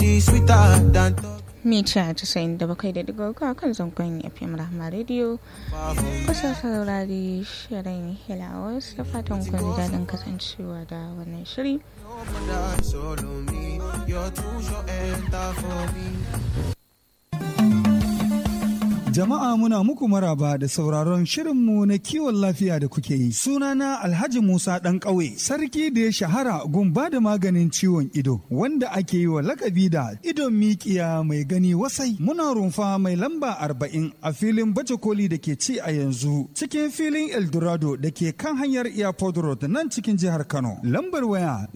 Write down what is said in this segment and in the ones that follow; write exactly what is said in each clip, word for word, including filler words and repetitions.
She sweeter than Mita casa'in da bakwai da digo uku a kan zangon F M Rahma Radio. Kusa saurari shirin Hilawas, da fatan kun ji daɗin kasancewa da wannan shiri. Solo me, you're too short enter for me. Jama'a, muna muku maraba da sauraron shirinmu na kiwon lafiya da kuke yi. Sunana Alhaji Musa ɗan ƙauye, sarki da ya shahara gumba da maganin ciwon ido, wanda ake yi wa lakabi da idon mikiya mai gani wasai. Muna rumfa mai lamba arba'in a filin baje koli da ke ci a yanzu, cikin filin Eldorado da ke kan hanyar Airport Road nan cikin jihar Kano. Lambar waya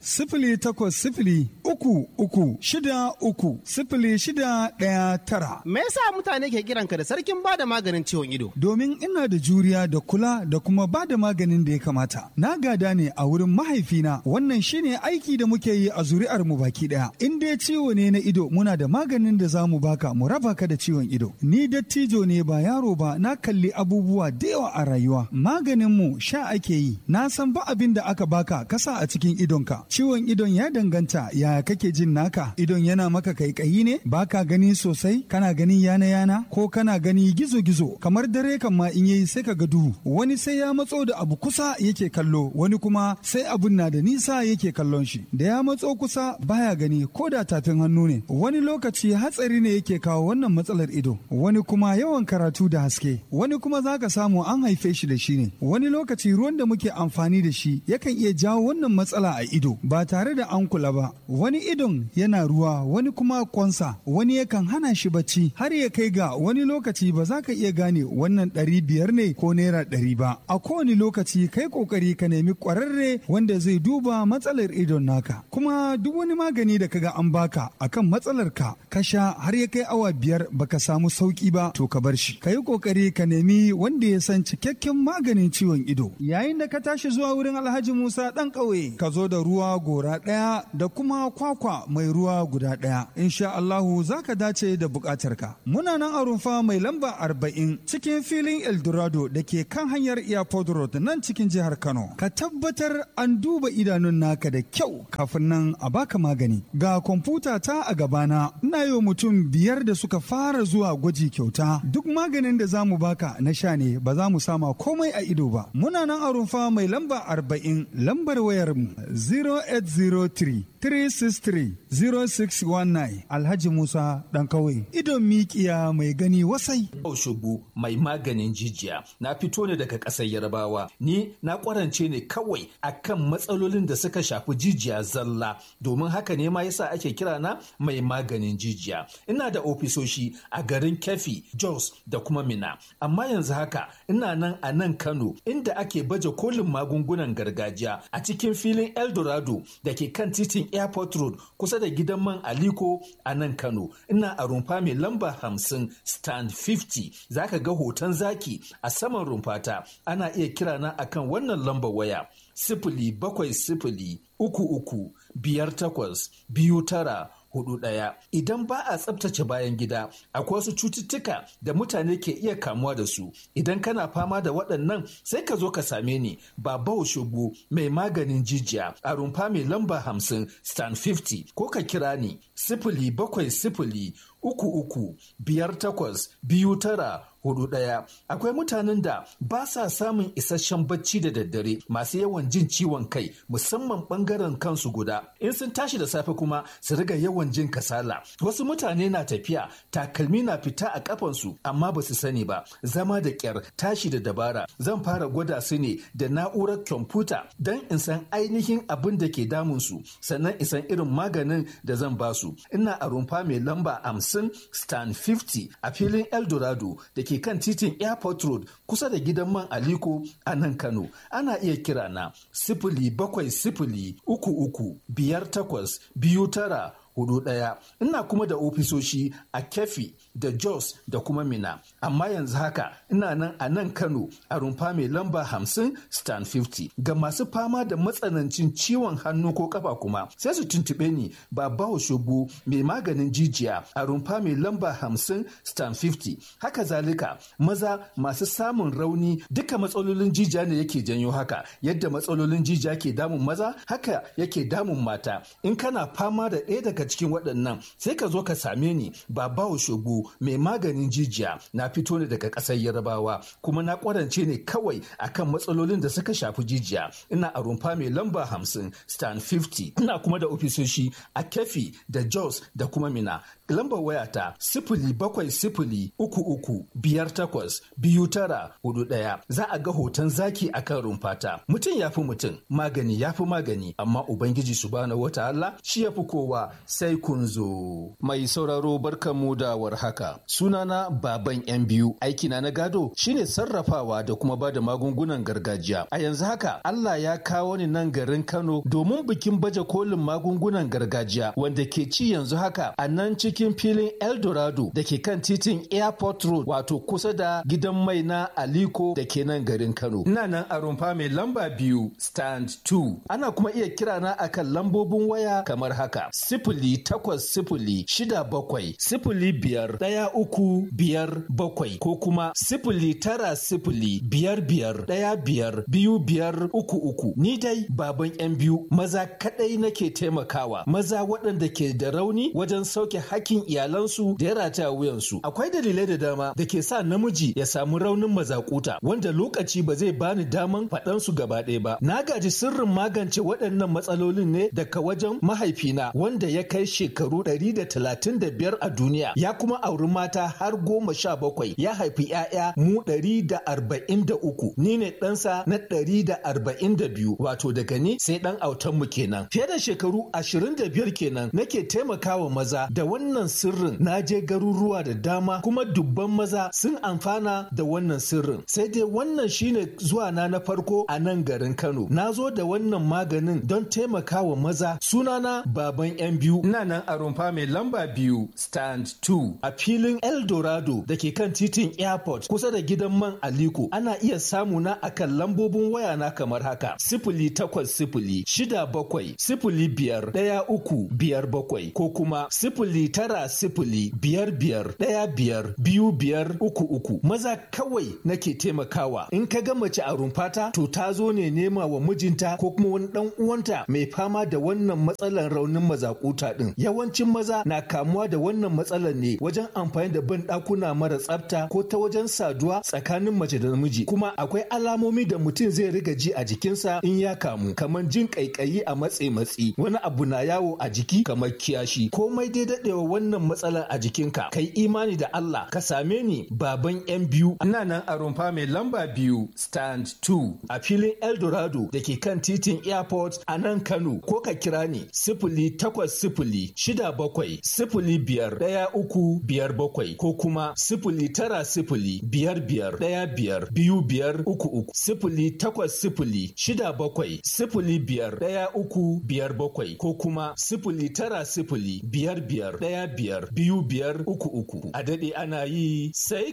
sifili takwas sifili uku uku shida uku sifili shida ɗaya tara, sifili takwas sifili uku uku shida uku sifili shida ɗaya tara. Me yasa mutane ke kiranka da sarkin bada maganin ciwon ido? Domin ina da juriya da kula da kuma ba da maganin da ya kamata. Na gada ne a wurin mahaifina, wannan shine aiki da muke yi a zuri'ar mu baki daya. In dai ciwo ne na ido, muna da maganin da za mu baka mu raba ka da ciwon ido. Ni dattijo ne ba yaro ba, na kalli abubuwa da yawa a rayuwa. Maganin mu sha ake yi. Na san ba abin da aka baka kasa a cikin idonka. Ciwon idon ya danganta yaya kake jin naka. Idon yana maka kaikayi ne, baka gani sosai, kana gani yana yana, ko kana gani gizo gizo. Kamar dare kan ma in yayi sai ka ga duhu. Wani sai ya matso da abu kusa yake kallo, wani kuma sai abun na da nisa yake kallon shi. Da ya matso kusa baya gani ko da tafin hannu ne. Wani lokaci hatsari ne yake kawo wannan matsalar ido. Wani kuma yawan karatu da haske. Wani kuma zaka samu an haife shi da shi ne. Wani lokaci ruwan da muke amfani da shi yakan iya jawo wannan matsala a ido ba tare da an kula ba. Wani idon yana ruwa, wani kuma kwansa, wani yakan hana shi bacci har ya kai ga wani lokaci ba za ka iya gane wannan ɗari biyar ne ko naira ɗari ba. A kowane lokaci kai kokari ka nemi ƙwararre wanda zai duba matsalar idon naka. Kuma duk wani magani da kaga an baka akan matsalar ka, ka sha har ya kai awa biyar baka samu sauki ba, to ka bar shi. Ka yi kokari ka nemi wanda ya san cikakken maganin ciwon ido. Yayin da ka tashi zuwa wurin Alhaji Musa ɗan ƙauye, ka zo da ruwa gora ɗaya da kuma kwakwa mai ruwa guda ɗaya. Insha Allahu za ka dace da buƙatarka. Muna nan a rumfa mai lamba arba'in cikin filin Eldorado da ke kan hanyar Airport Road nan cikin jihar Kano. Ka tabbatar an duba idanun naka da kyau kafin nan a baka magani. Ga kwamfuta ta a gabana, ina yi wa mutum biyar da suka fara zuwa gwaji kyauta. Duk maganin da za mu baka na sha ne, ba za mu sama komai a ido ba. Muna nan a rumfa mai lamba arba'in, lambar wayar mu sifili takwas sifili uku uku shida uku sifili shida ɗaya tara. Alhaji Musa ɗan kauye. Idon mikiya mai gani wasai. Oshobu mai maganin jijiya. Na fito ne daga ƙasar Yarbawa. Ni na ƙwarance ne kawai akan matsalolin da suka shafi jijiya zalla. Domin haka ne ma yasa ake kira na mai maganin jijiya. Ina da ofisoshi a garin Kefi, Jos da kuma Mina. Amma yanzu haka ina nan a nan Kano, inda ake baje kolin magungunan gargajiya a cikin filin Eldorado da ke kan titin Airport Road, kusa da gidan man Aliko a nan Kano. Ina a rumfa mai lamba hamsin, stand hamsin. Zaka ga hoton zaki a saman rumfata. Ana iya kira na akan wannan lambar waya: sifili bakwai sifili uku uku biyar takwas biyu tara hudu ɗaya. Idan ba a tsabtace bayan gida, akwai wasu cututtuka da mutane ke iya kamuwa da su. Idan kana fama da waɗannan, sai ka zo ka same ni, Baba Oshobu mai maganin jijiya, a rumfa mai lamba hamsin, stand hamsin, ko ka kira ni sifili bakwai sifili uku uku biyar takwas biyu tara hudu ɗaya. Akwai mutanen da ba sa samun isasshen bacci da daddare, masu yawan jin ciwon kai, musamman bangaren kansu guda. In sun tashi da safe kuma su riga yawan jin kasala. Wasu mutane na tafiya, takalmi na fita a kafansu amma ba su sani ba. Zama da kyar, tashi da dabara. Zan fara gwada su ne da na'urar kwamfuta don in san ainihin abin da ke damun su, sannan in san irin maganin da zan ba su. Ina a rumfa mai lamba hamsin, stand hamsin, a filin Eldorado da ke kan titin Airport Road, kusa da gidan man Aliko a nan Kano. Ana iya kira na sifili bakwai sifili uku uku biyar takwas biyu tara hudu ɗaya. Ina kuma da ofisoshi a Kefi da Jos da kuma Mina. Amma yanzu haka ina nan a nan Kano a rumfa mai lamba hamsin stand fifty. Ga masu fama da matsanancin ciwon hannu ko kafa kuma sai su tuntuɓe ni Babawo Shobo mai maganin jijiya a rumfa mai lamba hamsin stand fifty. Haka zalika maza masu samun rauni, duka matsalolin jijiya ne yake janyo haka. Yadda matsalolin jijiya ke damun maza haka yake damun mata. In kana fama da ɗaya daga cikin waɗannan sai ka zo ka same ni Babawo Shobo mai maganin jijiya. Na fito ne daga ƙasar Yarbawa kuma na ƙwarance ne kawai akan matsalolin da suka shafi jijiya. Ina a rumfa mai lamba hamsin stand fifty. Ina kuma da ofisoshi a Kefi da Jos da kuma Mina. Lambar wayata sifili bakwai sifili uku uku biyar takwas biyu tara hudu ɗaya. Za a ga hoton zaki a kan rumfata. Mutum ya fi mutum, magani ya fi magani, amma Ubangiji subhanahu wa ta'ala shi ya fi kowa. Sai kun zo. Mai sauraro, barkanmu da warhaka. Sunana Baban Yan Biyu. Aikina na gado shine sarrafawa da kuma ba da magungunan gargajiya. A yanzu haka Allah ya kawo ni nan garin Kano domin bikin baje kolin magungunan gargajiya wanda ke ci yanzu haka a nan cikin filin Eldorado da ke kan titin Airport Road, wato kusa da gidan mai na Aliko da ke nan garin Kano. Ina nan a rumfa mai lamba biyu stand two. Ana kuma iya kira na akan lambobin waya kamar haka: sifili takwas sifili shida bakwai sifili biyar ɗaya uku biyar bakwai ko kuma sifili tara sifili biyar biyar ɗaya biyar biyu biyar uku uku. Ni dai Baban Yan Biyu, maza kaɗai nake taimakawa, maza waɗanda ke da rauni wajen sauke hakkin iyalansu da ya rataya wuyansu. Akwai dalilai da dama da ke sa namiji ya samu raunin mazakuta wanda lokaci ba zai bani daman faɗan su gaba ɗaya ba. Na gaji sirrin magance waɗannan matsalolin ne daga wajen mahaifina wanda ya kai shekaru ɗari da talatin da biyar a duniya, ya kuma auri mata har goma sha bakwai, ya haifi 'ya'ya mu ɗari da arba'in da uku. Ni ne ɗansa na ɗari da arba'in da biyu, wato daga ni sai ɗan autanmu kenan. Fiye da shekaru ashirin da biyar kenan nake taimakawa maza da wannan sirrin. Na je garuruwa da dama kuma dubban maza sun amfana da wannan sirrin. Sai dai wannan shine zuwa na na farko a nan garin Kano. Na zo da wannan maganin don taimakawa maza. Sunana Baban Yan Biyu. Ina nan a rumfa mai lamba biyu stand two a filin Eldorado da ke kan titin Airport kusa da gidan man Aliko. Ana iya samu na akan lambobin waya na kamar haka: sifili takwas sifili shida bakwai sifili biyar ɗaya uku biyar bakwai ko kuma sifili tara sifili biyar biyar ɗaya biyar biyu biyar uku uku. Maza kawai nake taimakawa. In ka ga mace a rumfata to ta zo ne nema wa mijinta ko kuma wani ɗan uwanta mai fama da wannan matsalar raunin mazakuta ɗin. Yawancin maza na kamuwa da wannan matsalar ne wajen amfani da ban ɗakuna mara tsafta ko ta wajen saduwa tsakanin mace da namiji. Kuma akwai alamomi da mutum zai riga ji a jikinsa in ya kamu, kamar jin ƙaiƙayi a matse matsi, wani abu na yawo a jiki kamar kiyashi. Komai dai daɗewa wannan matsalar a jikinka, kai imani da Allah ka same ni Baban Yan Biyu. Ina nan a rumfa mai lamba biyu stand two a filin Eldorado da ke kan titin Airport a nan Kano, ko ka kira ni sifili takwas sifili shida bakwai sifili biyar ɗaya uku biyar bakwai ko kuma sifili tara sifili biyar biyar ɗaya biyar biyu biyar uku uku. Sifili takwas sifili shida bakwai sifili biyar ɗaya uku biyar bakwai ko kuma sifili tara sifili biyar biyar ɗaya biyar biyu biyar uku uku. A daɗe ana yi sai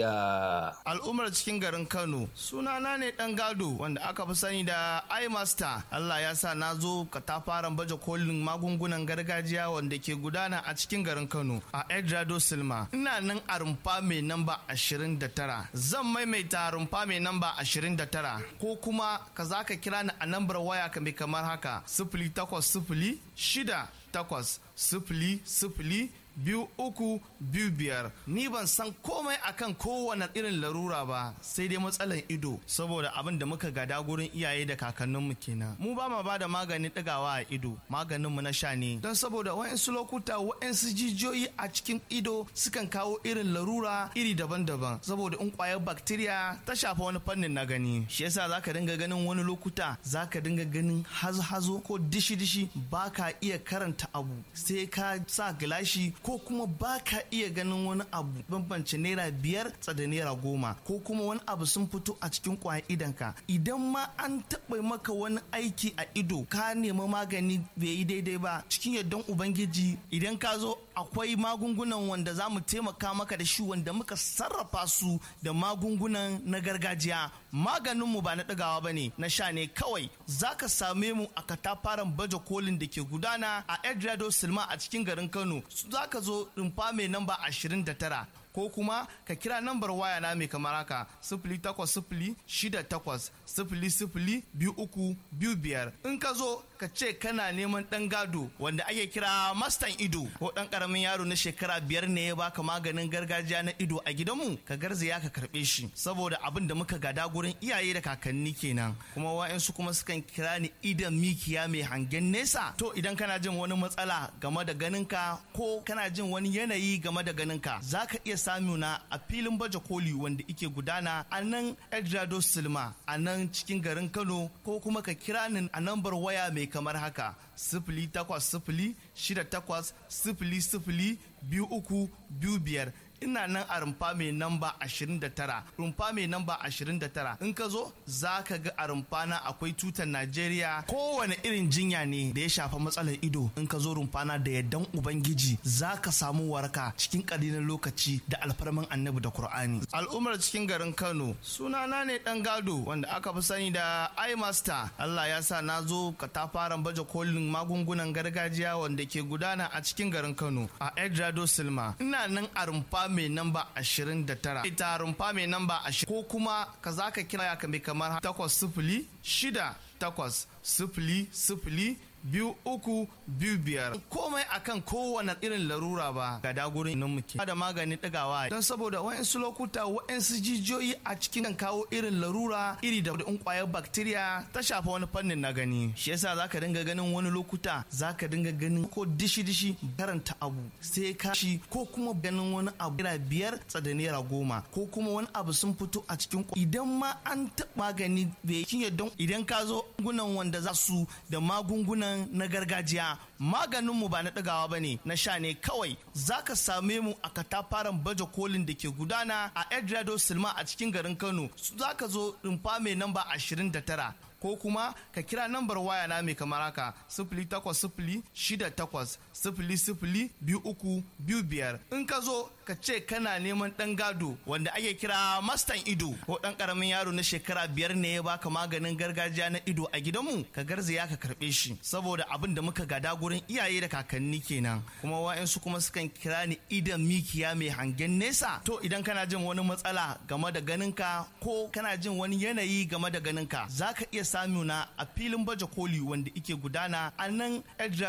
gaskiya. Al'ummar cikin garin Kano, sunana ne ɗan gado wanda aka fi sani da iMaster. Allah ya sa na zo katafaren baje kolin magungunan gargajiya wanda ke gudana a cikin garin Kano a Edrado Silma. Ina nan a rumfa mai namba ashirin da tara. Zan maimaita, rumfa mai namba ashirin da tara, ko kuma ka za ka kira ni a nambar waya mai kamar haka: sifili takwas sifili shida takwas sifili sifili biyu uku biyu biyar. Ni ban san komai akan kowane irin larura ba sai dai matsalan ido, saboda abin da muka gada gurin iyaye da kakanninmu kenan. Mu ba ma ba da maganin ɗigawa a ido, maganin mu na sha ne, don saboda wa'insu lokuta wa'insu jijiyoyi a cikin ido sukan kawo irin larura iri daban-daban, saboda in kwayar bacteria ta shafa wani fannin na gani, shi yasa zaka dinga ganin wani lokuta zaka dinga ganin hazo-hazo ko dishi-dishi, baka iya karanta abu sai ka sa gilashi ko ko kuma baka iya ganin wani abu bambance naira biyar tsada naira goma, ko kuma wani abu sun fito a cikin kwayan idonka. Idan ma an taɓa maka wani aiki a ido, ka nemi magani bai yi daidai ba, cikin yardan Ubangiji idan ka zo akwai magungunan wanda za mu taimaka maka da shi, wanda muka sarrafa su da magungunan na gargajiya. Maganinmu ba na ɗagawa ba ne, na sha ne kawai. Za ka same mu a katafaren baje kolin da ke gudana a Edrado Silma a cikin garin Kano. Za ka zo rumfa mai namba ashirin da tara, ko kuma ka kira nambar waya na mai kamar haka: sifili takwas sifili shida takwas sifili sifili biyu uku biyu biyar. In ka zo, ka ce kana neman ɗan gado wanda ake kira mastan ido, ko ɗan ƙaramin yaro na shekara biyar ne ya baka maganin gargajiya na ido a gidanmu, ka garzaya ka karɓe shi, saboda abin da muka gada gurin iyaye da kakanni kenan. Kuma wa'yansu kuma sukan kira ni idan mikiya mai hangen nesa. To, idan kana jin wani matsala game da ganinka, ko kana jin wani yanayi game da ganinka, za ka iya samuna a filin baje koli wanda ike gudana a nan Edrado Silma a nan cikin garin Kano, ko kuma ka kira ni a nambar waya mai kamar haka: sifili takwas sifili shida takwas sifili sifili biyu uku biyu biyar. Ina nan a rumfa mai namba ashirin da tara, rumfa mai namba ashirin da tara. In ka zo, za ka ga a rumfa na akwai tutar Najeriya. Kowane irin jinya ne da ya shafa matsalar ido, in ka zo rumfa na, da yardan Ubangiji za ka samu waraka cikin ƙalilan lokaci da alfarman Annabi da Kur'ani. Al'ummar cikin garin Kano, sunana ne dan gado wanda aka fi sani da iMaster. Allah ya sa na zo katafaren baje kolin magungunan gargajiya wanda ke gudana a cikin garin Kano a Edrado Silma. Ina nan a rumfa mai namba ashirin da tara, ita rumfa mai namba ashirin, ko kuma ka za ka kira ka mai kamar takwas sifili shida takwas sifili sifili biyu uku biyu biyar. Komai akan kowane irin larura ba ga dagurin nan muke da maganin ɗigawa, don saboda wa'insu lokuta wa'insu jijiyoyi a cikin kan kawo irin larura iri da in kwayar bacteria ta shafa wani fannin na gani. Shi yasa zaka dinga ganin wani lokuta zaka dinga ganin ko dishi dishi, karanta abu sai ka shi, ko kuma ganin wani abu naira biyar tsada naira goma, ko kuma wani abu sun fito a cikin. Idan ma an taɓa magani bai don idan ka zo gunan wanda za su da magungunan na gargajiya, maganinmu ba na ɗagawa ba ne, na sha ne kawai. Za ka same mu a katafaren baje kolin da ke gudana a Edrado Silma a cikin garin Kano. Za ka zo rumfa mai namba ashirin da tara, ko kuma ka kira nambar waya na mai kamar haka: sifili takwas sifili shida takwas sifili sifili biyu uku biyu biyar. In ka zo, ka ce kana neman ɗan gado wanda ake kira mastan ido, ko ɗan ƙaramin yaro na shekara biyar ne ya baka maganin gargajiya na ido a gidanmu, ka garzaya ka karɓe shi, saboda abin da muka gada gurin iyaye da kakanni kenan. Kuma wa'yansu kuma sukan kira ni idan mikiya mai hangen nesa. To, idan kana jin wani matsala game da ganinka, ko kana jin wani yanayi game da ganinka, za ka iya samuna a filin baje koli wanda ike gudana a nan.